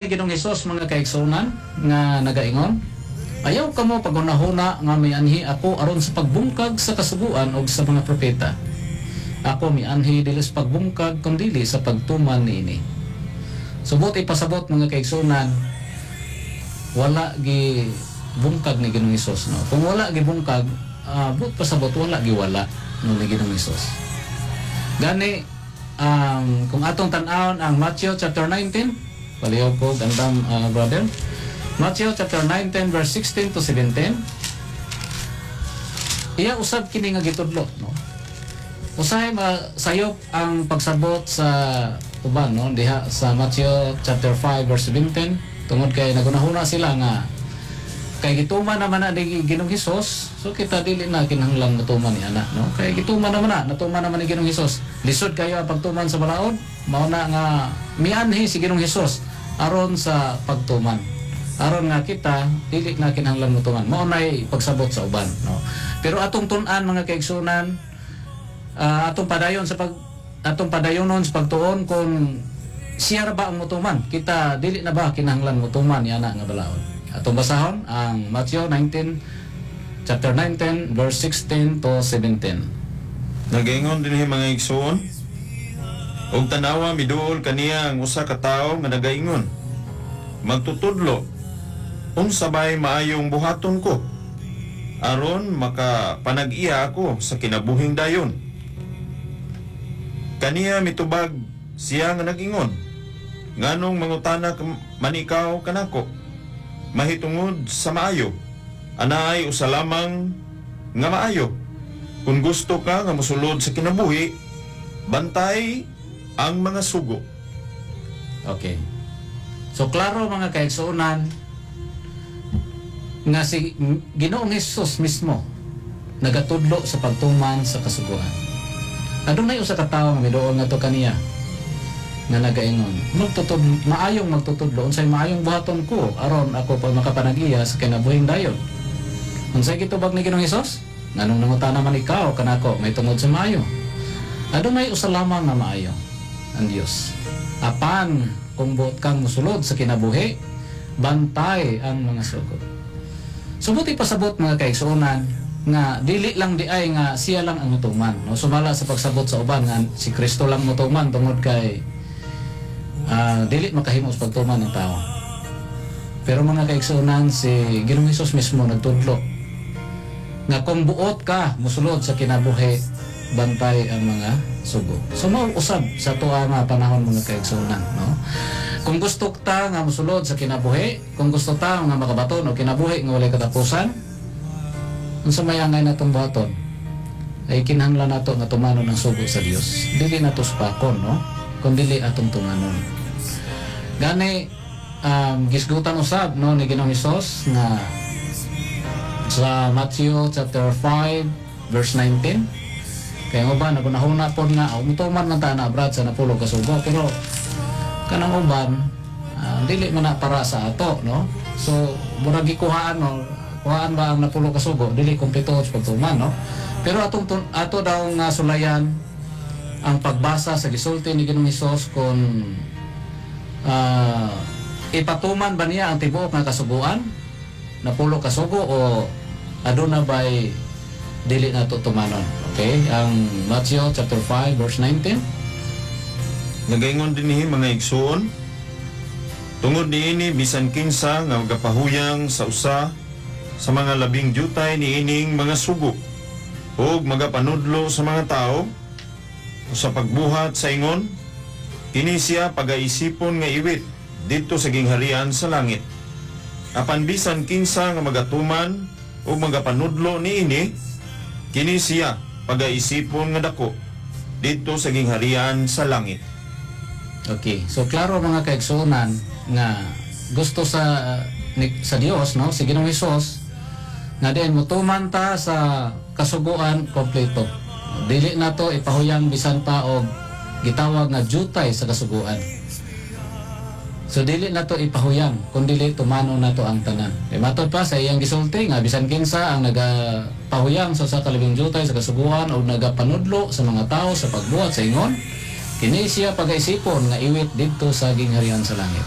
Ginoong Hesus, mga kaigsuonan, nga nagaingon, "Ayaw kamo paghunahuna nga mianhi ako aron sa pagbungkag sa kasuguan og sa mga propeta. Ako mianhi dili sa pagbungkag kundili sa pagtuman niini." So buot ipasabot, mga kaigsuonan, wala gi bungkag ni Ginoong Hesus, no? Kung wala gibungkag, buot pasabot wala giwala, no, ni Ginoong Hesus. Gani kung atong tan-awon ang Matthew chapter 19, palihog ko gandam, brother. Matthew chapter 19 verse 16 to 17. Iya usab kini nga gitudlo, no? Usahay masayop ang pagsabot sa uban, no, diha sa Matthew chapter 5 verse 17, tungod kay nagunahuna sila nga kay gituman naman na ni Ginoong Hesus, so kita dili na kinahanglan motuman ni ana, no? Kay gituman naman na, natuman naman ni Ginoong Hesus. Lisod kayo ang pagtuman sa balaod, mao na nga mianhi si Ginoong Hesus aron sa pagtuman. Aron nga kita dili na kinahanglan motuman. Mao nay pagsabot sa uban, no? Pero atong tun-an, mga kaigsunan, atong padayonon sa pagtuon kung siya ra ba ang motuman. Kita dili na ba kinahanglan motuman ni ana nga balaod? Atong basahon ang Matthew 19 chapter 19 verse 16 to 17. Nagaingon dinhi, mga igsoon, "Ug tanawa, miduol kaniya ang usa ka tawo nga nagaingon, 'Magtutudlo, unsa bay maayong buhaton ko aron makapanag-iya ako sa kinabuhing dayon?' Kaniya mitubag siya nga nag-ingon, 'Nganong mangutana man ikaw kanako mahitungod sa maayo? Anaay usa lamang nga maayo. Kung gusto ka nga mosulod sa kinabuhi, bantay ang mga sugo.'" Okay. So klaro, mga kaigsuonan, nga si Ginoong Hesus mismo nagatudlo sa pagtuman sa kasuguan. Adunay usa ka tawo nga miduol ngadto kaniya nga nagaingon, "Maayong magtutudlo, unsay maayong buhaton ko aron ako pa makapanag-iya sa kinabuhing dayon?" Unsay gitubag ni Ginoong Hesus? "Nganong nangutana man ikaw kanako mahitungod sa maayo? Adunay usa lamang nga maayo, ang Dios. Apan kung buot kang musulod sa kinabuhi, bantay ang mga sugo." So buot ipasabot, mga kaigsuonan, nga dili lang di ay nga siya lang ang mutuman, no? Sumala sa pagsabot sa uban nga si Kristo lang mutuman tungod kay dili makahimo sa pagtuman ng tao. Pero mga kaigsuonan, si Ginoong Hesus mismo nagtudlo nga kung buot ka musulod sa kinabuhi, bantay ang mga sugo. So mao usab sa tuwa nga panahon, mga kaigsuonan, no? Kung gusto ta nga musulod sa kinabuhi, kung gusto ta nga makabaton og kinabuhi nga walay katapusan, unsa may angay natong buhaton? Ay kinahanglan nato nga tumanon ang sugo sa Dios. Dili nato supakon, no? Kun dili atong tumanon. Gani gisgutan usab, no, ni Ginoong Hesus nga sa Matthew chapter 5 verse 19. Kaya nga uban nagunahuna pod nga, oh, mutuman man ta na, brad, sa napulo ka sugo, pero kanang uban, dili man na para sa ato, no? So murag gikuhaan, no, kuhaan ba ang napulo ka sugo, dili kumpleto sa pagtuman, no? Pero ato daw nga sulayan ang pagbasa sa gisulti ni Ginoong Hesus kung ipatuman ba niya ang tibuok nga kasuguan, napulo ka sugo, o aduna bay dili nato tumanon. Okay, ang Matthew chapter 5 verse 19. Nagaingon dinhi, mga igsoon, "Tungod niini bisan kinsa nga magapahuyang sa usa sa mga labing jutay niining mga sugo ug magapanudlo sa mga tao sa pagbuhat sa ingon, kini siya pagaisipon nga iwit didto sa gingharian sa langit. Apan bisan kinsa nga magatuman ug magapanudlo niini, kini siya pagaisipon nga dako didto sa gingharian sa langit." Okay, so klaro, mga kaigsuonan, nga gusto sa Dios, no, si Ginoong Hesus, nga diin motuman ta sa kasuguan kompleto. Dili nato ipahuyang bisan pa og gitawag nga jutay sa kasuguan. So dili nato ipahuyang kun dili tumanon nato ang tanan. E matod pa sa iyang gisulti nga bisan kinsa ang nagapahuyang sa usa ka labing jutay sa kasuguan o nagapanudlo sa mga tao sa pagbuhat sa ingon, kini siya pagaisipon nga iwit didto sa gingharian sa langit.